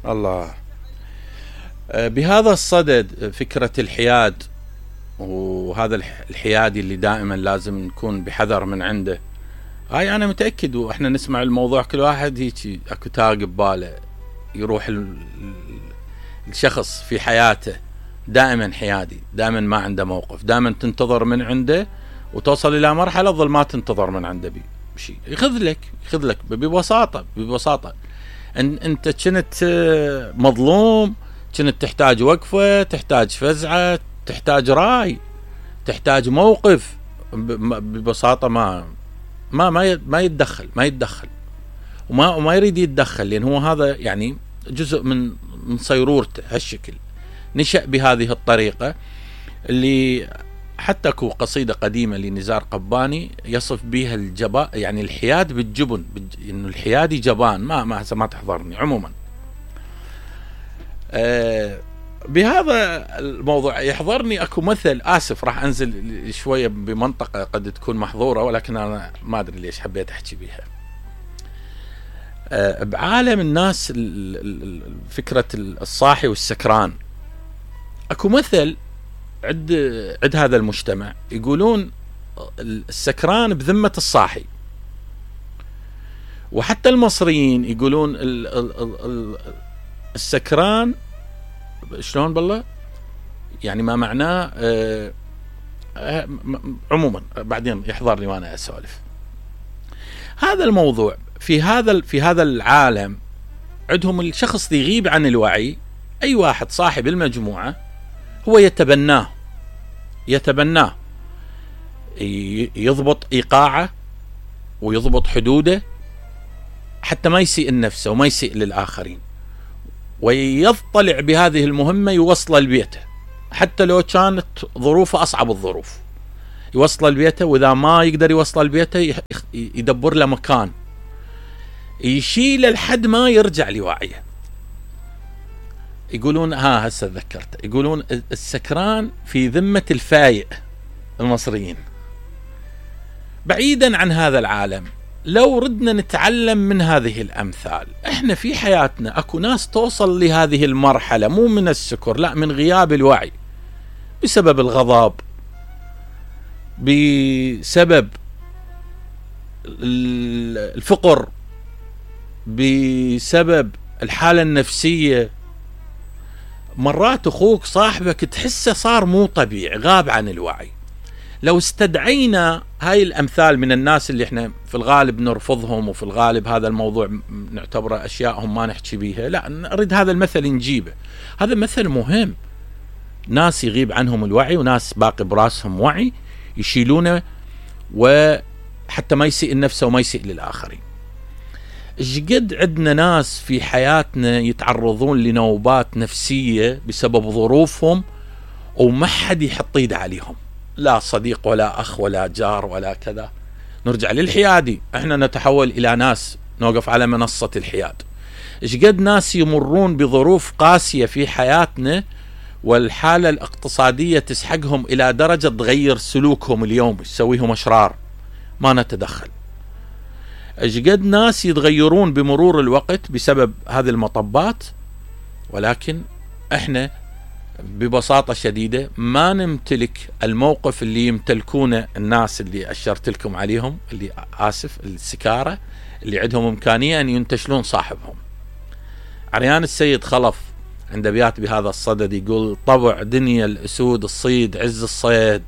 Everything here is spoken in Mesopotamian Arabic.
الله. بهذا الصدد فكرة الحياد، وهذا الحيادي اللي دائما لازم نكون بحذر من عنده. هاي أنا متأكد، وإحنا نسمع الموضوع كل واحد هيك أكو تاق بباله يروح الشخص في حياته دائما حيادي، دائما ما عنده موقف، دائما تنتظر من عنده وتوصل إلى مرحلة ظل ما تنتظر من عنده بشيء، يخذ لك ببساطة. أنت كنت مظلوم، كنت تحتاج وقفة، تحتاج فزعة، تحتاج راي، تحتاج موقف، ببساطة ما يتدخل وما يريد يتدخل، لأن هو هذا يعني جزء من صيرورته. هالشكل نشأ بهذه الطريقة، اللي حتى اكو قصيدة قديمة لنزار قباني يصف بها الجباء، يعني الحياد بالجبن، انه الحيادي جبان. ما تحضرني عموما. بهذا الموضوع يحضرني اكو مثل، اسف راح انزل شوية بمنطقة قد تكون محظورة، ولكن انا ما ادري ليش حبيت احكي بيها. بعالم الناس فكرة الصاحي والسكران، اكو مثل عند هذا المجتمع يقولون السكران بذمة الصاحي، وحتى المصريين يقولون السكران شلون بالله، يعني ما معناه عموما بعدين يحضرني وانا اسولف. هذا الموضوع في هذا العالم عندهم الشخص اللي يغيب عن الوعي، اي واحد صاحب المجموعة هو يتبناه، يضبط ايقاعه ويضبط حدوده حتى ما يسيء لنفسه وما يسيء للآخرين، ويطلع بهذه المهمة يوصل لبيته حتى لو كانت ظروفه أصعب الظروف، يوصل لبيته، وإذا ما يقدر يوصل لبيته يدبر له مكان يشيل لحد ما يرجع لوعيه. يقولون هسه تذكرت، يقولون السكران في ذمة الفايق. المصريين بعيدا عن هذا العالم، لو ردنا نتعلم من هذه الأمثال، احنا في حياتنا اكو ناس توصل لهذه المرحلة مو من السكر، لا من غياب الوعي، بسبب الغضب، بسبب الفقر، بسبب الحالة النفسية. مرات اخوك صاحبك تحسه صار مو طبيعي، غاب عن الوعي. لو استدعينا هاي الامثال من الناس اللي احنا في الغالب نرفضهم، وفي الغالب هذا الموضوع نعتبره اشياءهم ما نحكي بيها، لا نريد هذا المثل نجيبه. هذا مثل مهم، ناس يغيب عنهم الوعي وناس باقي براسهم وعي يشيلونه، وحتى ما يسيء النفس وما يسيء للآخرين. قد عندنا ناس في حياتنا يتعرضون لنوبات نفسية بسبب ظروفهم وما حد يحط ايده عليهم، لا صديق ولا أخ ولا جار ولا كذا. نرجع للحيادي، احنا نتحول إلى ناس نوقف على منصة الحياد. قد ناس يمرون بظروف قاسية في حياتنا والحالة الاقتصادية تسحقهم إلى درجة تغير سلوكهم اليوم، تسويهم أشرار، ما نتدخل. قد ناس يتغيرون بمرور الوقت بسبب هذه المطبات، ولكن احنا ببساطة شديدة ما نمتلك الموقف اللي يمتلكونه الناس اللي أشرت لكم عليهم، اللي السكارة اللي عندهم إمكانية أن ينتشلون صاحبهم. عريان السيد خلف عنده أبيات بهذا الصدد، يقول: طبع دنيا الأسود الصيد عز الصيد،